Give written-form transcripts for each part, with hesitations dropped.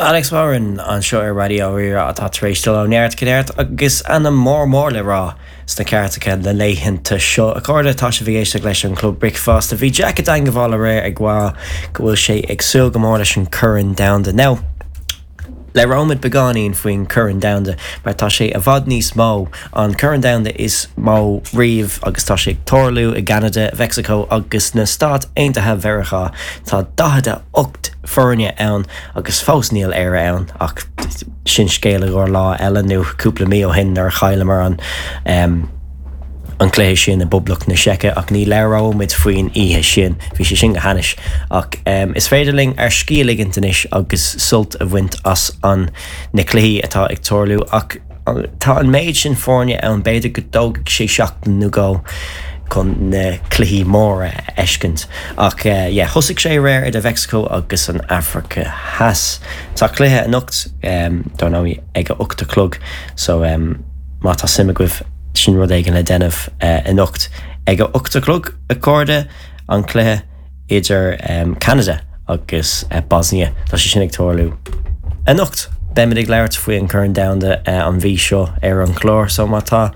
Alex Warren anseo ar Raidió Rí-Rá atá tar éis dul ó neart go neart agus ainm mór mór le rá sna cairteacha na laethanta seo. A chairde, tá sibh ag éisteacht leis an Club Bricfeasta. Bhí Jack i dteangmháil aréir ag rá go bhfuil sé ag súil go mór leis an Corn Domhanda. Now, Labhróimid beagáinín faoin Chorn Domhanda mar tá sé i bhfad níos mó, an Corn Domhanda is mó riamh agus tá sé ag tarlú i gCeanada, Mheicsiceo agus na Stáit Aontaithe Mheiriceá. Tá 48 foirne ann agus fós níl Éire ann ach sin scéal i gcomhair lá eile nó cúpla mí ó shin nuair a chailleamar an an cluiche sin i bPoblacht na Seice ach ní labhróimid faoin oíche sin, bhí sé sin go hainnis. Ach is féidir linn ár scíth a ligint anois agus sult a bhaint as an na cluichí atá ag tarlú ach tá an méid sin foirne ann b'fhéidir go dtógfaidh sé seachtain nó dhó chun na cluichí móra a fheiscint. Ach yeah, thosaigh sé aréir idir Mheicsiceo agus an Afraic Theas. Tá cluiche anocht, dar ndóigh, ag a 8 a chlog so má tá suim agaibh, Sin rud éigin le déanamh anocht ag a 8 a chlog, a chairde, an cluiche idir Ceanada agus Bosnia. Tá sé sin ag tarlú anocht. Beimid ag labhairt faoi an Corn Domhanda an mhí seo ar an chlár, so má tá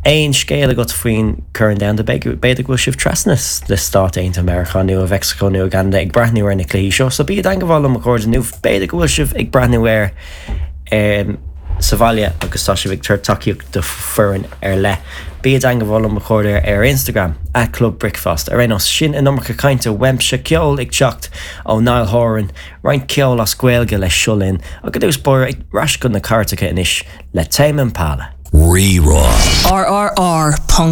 aon scéal agat faoin Corn Domhanda, b'fhéidir go bhfuil sibh trasna sna Stáit Aontaithe Meiriceá nó i Mheicsiceo nó i gCeanada ag breathnú ar na cluichí seo, so bí i dteangmháil liom a chairde nó b'fhéidir go bhfuil sibh ag breathnú air sa bhaile agus tá sibh ag tabhairt tacaíocht do foireann ar leith. Bí i dteangmháil liom a chairde ar Instagram, at Club Bricfeasta. Ar aon nós, sin an iomarca cainte uaimse, ceol ag teacht ó Niall Horan, roinnt ceoil as Gaeilge le Seo Linn, ach i dtús báire, ar ais chun na cairteacha anois le Tame Impala. Rí-Rá. RRR.